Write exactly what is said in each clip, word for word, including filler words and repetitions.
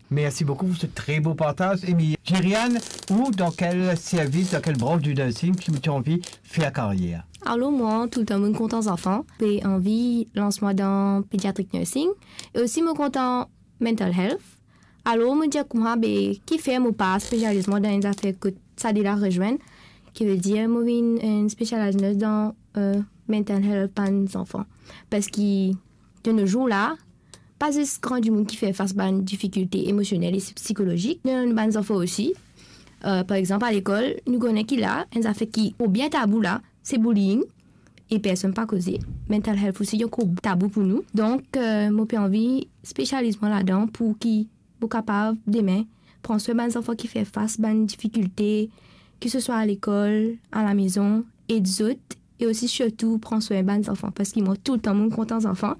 Mersi boukou pou se tre bo partaz. Emilie, Jeriane, ou dan kel servis, dan kel branch di nursing ki ou ti anvi fer karyer? Alor, mwa, toultan mo'nn kontan zanfan, pe anvi lans mwa dan pediatric nursing, e osi mo kontan mental health. Alor, mo dir kouma, be, kifer mo pa spesializ mwa dan enn zafer kot sa de la rezwenn, ki ve dir mo vinn enn specialized nurse dan, euh, mental health bann zanfan. Parski de nos jours la, pa zis gran dimoun ki fer fas bann difikilte emosionel e psikolozik, me bann zanfan osi. Euh, par exanp, a lekol, nou kone ki la, enn zafer ki, ou bien tabou la, se bullying, e personn pa koze. Mental health osi, ankor tabou pou nou. Donk, euh, mo pe anvi spesializ mwa ladan pou ki mo kapav demin pran swin bann zanfan ki fer fas bann difikilte, ki se swa a lekol, a lamezon, ed zot, e osi sirtou pran swin bann zanfan, parski mwa toultan mo'nn kontan zanfan,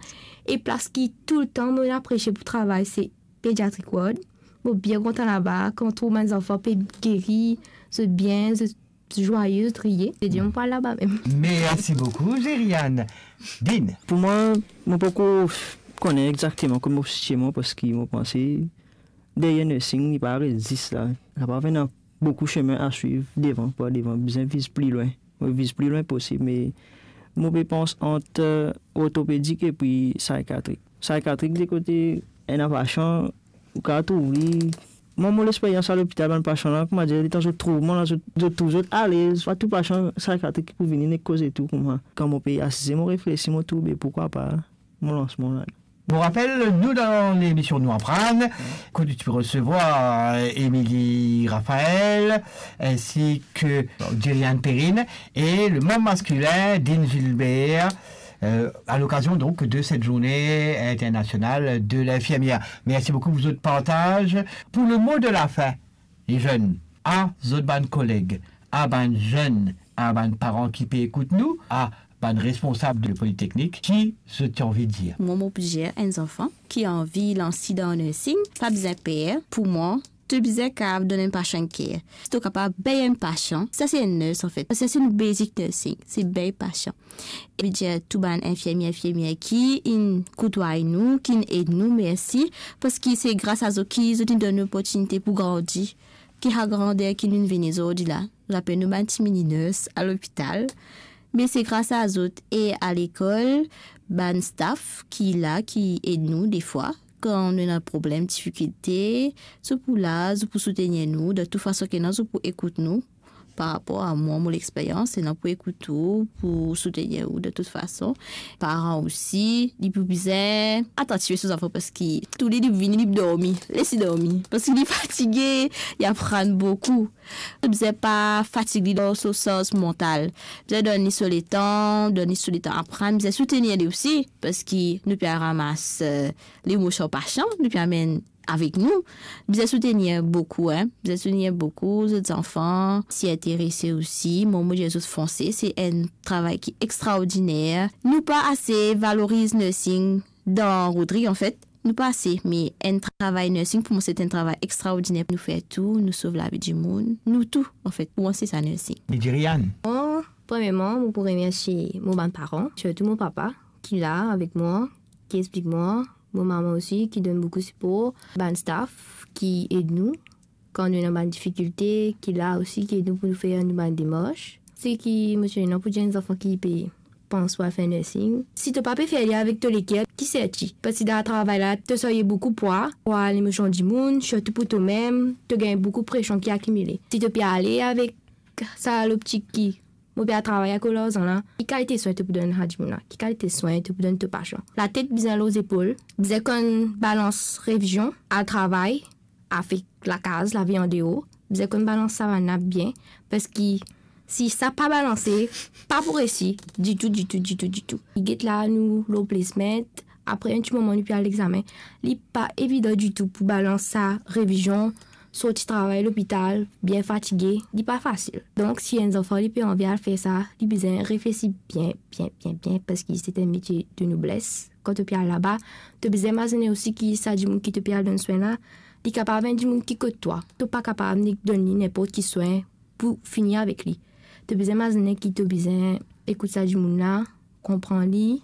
e plas ki toultan mo'nn apresie pou travay, se pediatric ward. Mo bien kontan laba, kan trouv bann zanfan pe geri, zot bien, zot zwaye, zot riye. Se dir mo pou al laba mem. Mersi boukou, Jeriane. Din. Pou mwa, mo poko kone exakteman kot mo sitie mwa, parski mo panse deryer nursing, li pa aret zis la. Kapav ena boukou sime a swiv devan, par devan, bizin viz pli lwin. Mo viz pli lwin posib, me mo pe pans ant, euh, ortopedik epi sikatrik. Sikatrik, de kote ena pasian, ou kapav trouv li. Mwa, mo lexperyans a lopital, bann pasian la, kouma dir, letan zot trouv mwa la, zot, zot trouv zot alez. Pa tou pasian sikatrik ki pou vini, nek koze tou kouma. Kan mo pe asize, mo reflesi, mo trouv, be, poukwa pa mo lans mwa la. Pour rappel, nou dan lemision Nou Aprann, kot ti pe resevwar, euh, Émilie Raphaël, ainsi que Jeriane Perrine et le membre masculin, Dean Gilbert, euh, à l'occasion donc de cette journée internationale de l'infirmière. Merci beaucoup pour votre partage. Pour le mot de la fin, les jeunes, a zot bann koleg, a bann zenn, a bann paran ki pe ekout nou, a bann responsab de politeknik, ki zot ti anvi dir? Mwa, mo pou dir enn zanfan ki anvi lans li dan nursing, pa bizin per. Pou mwa, to bizin kapav donn enn pasian enn ker. Si to kapav beg enn pasian, sa se enn nurse, anfet. Sa se nou basic nursing, se beg pasian. E mo dir tou bann infirmie, infirmier ki inn koutway nou, ki inn ed nou, mersi, parski se gras a zot ki zot inn donn nou loportinite pou grandi, ki sa grander ki nou vinn vini zordi la. Zot apel nou bann ti mini nurse a lopital, me se gras a zot e a lekol, bann staff ki la, ki ed nou defwa. Kan nou ena problem, difikilte, zot pou la, zot pou soutenir nou, dan tou fason ki ena, zot pou ekout nou. Par rapor a mwa, mo lexperyans, se la pou ekout ou, pou soutenir ou de tout fason. Paran osi, li pou bizin atantif so zanfan, parski toule li pou vini, li pou dormi. Les li dormi, parski li fatige, li aprann boukou. Bizin pa fatig li dan so sars mantal. Bizin donn li so letan, donn li so letan aprann, bizin soutenir li osi, parski nou pe al ramas, eh, lemosion pasian, nou pe amenn avek nou. Bizin soutenir boukou, en. Bizin soutenir boukou, zot zanfan, si interese osi. Mwa, mo dir zot fonse, se enn travay ki extraordiner. Nou pa ase valoriz nursing dan Rod Ri, anfet. Nou pa ase, me enn travay nursing, pou mwa, se enn travay extraordiner. Nou fer tou, nou sov lavi dimoun. Nou tou, anfet, pou mwa, se sa nursing. Jeriane. Mwa, premierman, mo pou remersie mo bann paran, sirtou mo papa, ki la avek mwa, ki explik mwa, mo mama osi, ki donn boukou sipor, bann staff ki ed nou kan nou ena bann difikilte, ki la osi, ki ed nou pou nou fer nou bann demars. Seki mo ti ena pou dir enn zanfan ki pe pans pou al fer nursing, si to pa pe fer li avek to leker, ki serti? Parski dan travay la, to sarye boukou pwa, pwa lemosion dimoun, sirtou pou tomem, to gagn boukou presion ki akimile. Si to pe ale avek sa loptik ki mo pe al travay akoz larzan la, ki kalite swin to pou donn sa dimoun la? Ki kalite swin to pou donn to pasian? Latet bizin lor zepol, bizin konn balans revizion, al travay, avek lakaz, lavi andeor, bizin konn balans sa bann la bien, parski si sa pa balanse, pa pou resi ditou, ditou, ditou, ditou. Li get la, nou lor placement, apre enn ti moman nou pe al examen. Li pa evidan ditou pou balans sa revizion, sorti travay lopital, bien fatige, li pa fasil. Donk, si enn zanfan li pe anvi al fer sa, li bizin reflesi bien, bien, bien, bien, parski se enn metie de nobles. Kan to pe al laba, to bizin mazine osi ki sa dimoun ki to pe al donn swin la, li kapav enn dimoun ki kot twa. To pa kapav nek donn li ninport ki swin pou fini avek li. To bizin mazine ki to bizin ekout sa dimoun la, konpran li,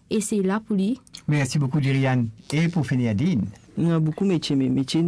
e se la pou li. Mersi boukou, Jeriane. E pou fini, Dean. Ena boukou metie, me metie